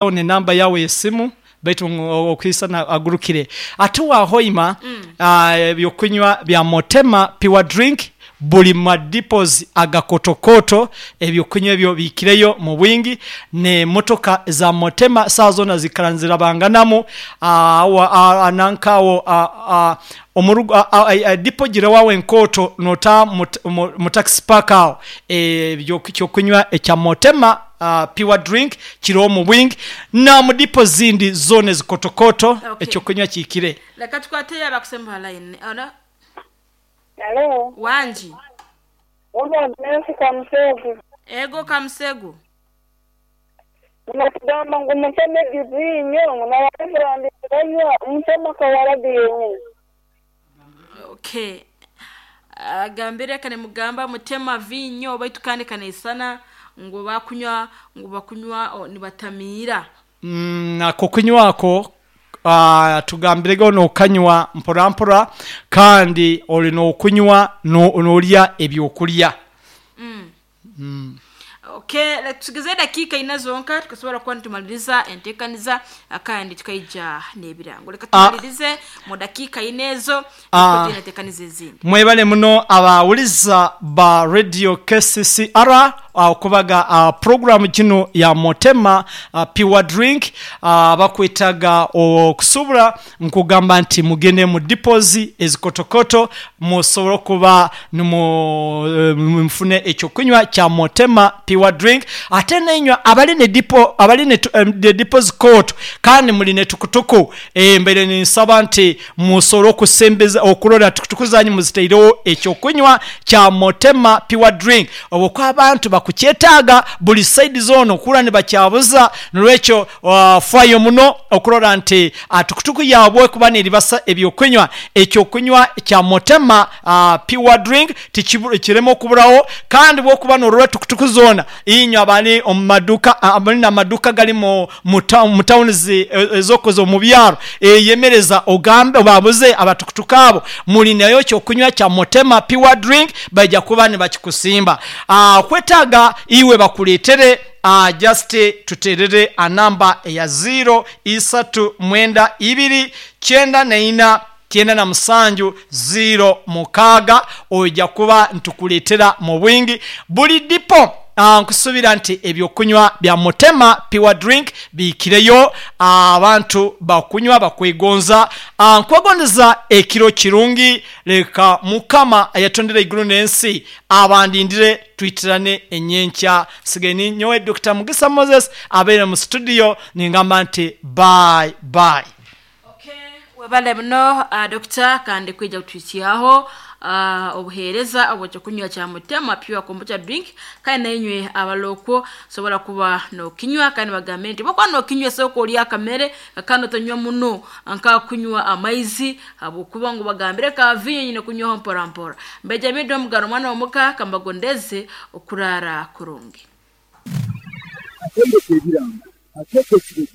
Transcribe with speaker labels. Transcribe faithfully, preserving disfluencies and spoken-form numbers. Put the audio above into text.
Speaker 1: Ni namba yawe yesimu baitu okwisana agurukire ate wahoima mm. Ebyokunywa bya Motema Pure Drink buli madipos agakotokoto, ebyokunywa ebyo biikireyo mu bwingi, nemotoka za Motema sawa zona zikara nizirabanganamu nankawo dipo gira wawe enkoto nota mu taxi park awo, ekyokunywa ekya Motema Pure Drink kiriwo mu bwingi na mu dipo zindi zona ezikotokoto.
Speaker 2: Okay.
Speaker 1: Ekyokunywa kiikire.
Speaker 2: Leka tukwate abakusemba line ona.
Speaker 3: Halo,
Speaker 2: wanji.
Speaker 3: Uno Nancy Kamusegu.
Speaker 2: Ego Kamusegu.
Speaker 3: Unakugamba ngu muteme gizinyo ngu nabareverandi banywa mutema kawarabi yenyine.
Speaker 2: Okay, agambire kane mugamba mutema vinyo baitu kandi kaneisana ngo bakunywa ngo bakunywa o, nibatamiira.
Speaker 1: Mm, ako kunywako uh, tugambirego nokanywa mpora mpora kandi oli nokunywa nolya ebyokulya.
Speaker 2: mm. mm. Okay, le- tugeze dakika ina zonka tukasobola kuba nitumaliriza enteekaniza kandi tukaija n'ebirango. Leka
Speaker 1: Ah.
Speaker 2: tumalirize mu dakiika ina ezo.
Speaker 1: Ah.
Speaker 2: Tuina enteekaniza ezindi.
Speaker 1: Mwebale muno abawuliza ba Radio K C C R okubaga uh, programu kino ya Motema uh, Pure Drink uh, bakwetaga okusubula nkugamba nti mugende mu dipozi ezikotokoto musobole okuba nimu- eh, mufune ekyokunywa kya Motema Pure Drink. Ate nenywa abali ne dipo abali ne tu- em, ne dipozi koto kandi muli ne tukutuku, eh, mbere ninsaba nti musobole okusembeza okulora tukutuku zanyu muziteirewo ekyokunywa kya Motema Pure Drink obwo abantu bakukyetaaga buli saidi zona okula ne bakyabuza. Nolwekyo uh, fayo muno okulora nti uh, tukutuku yabwe kuba neribasa ebyokunywa, ekyokunywa kya Motema uh, Pure Drink tikibu- kireme okuburawo. Kandi bwokuba norora tukutuku zona inywe abali omu maduka, abali namaduka gali mu mu town- mu towns ezokoze omu byaro, eyemereza ogambe babuze abatukutuku abo muli nayo kyokunywa kya Motema Pure Drink, bajja kuba nibakikusimba. Ah, kwetaaga iwe bakuleetere uh, just tuterere anamba eya ziro isatu mwenda ibiri kyenda neina kyenda na musanju ziro mukaaga, ojja kuba ntukuleetera mu bwingi buli dipo. Ah, nkusubira nti ebyokunywa bya Motema Pure Drink biikireyo, ah, abantu bakunywa bakwegonza. Ah, nkwegondeza ekiro kirungi. Leka Mukama ayatondera iguru n'ensi abandindire twitirane enyenkya. Sigaye ni nyowe Dr Mugisa Moses abeere mu studio ningamba nti bye bye.
Speaker 2: Okay, webale muno uh, dokita kandi kwija kutwikyaho uh, obuheereza obwekyokunywa kya Mutema Pure Kombucha Drink. Kandi nainywe abalokwo sobola kuba nokinywa, kandi bagambe nti bwokuba nokinywa sooka olya akamere kandi otonywa muno nkakunywa amaizi habwokuba ngu bagambire ka vinyo nyine kunywaho mpora mpora. Mbejamidde omugano omwana womuka kambagondeze okurara kurungi.
Speaker 4: Atendeka ebirango ateeka ekirezi.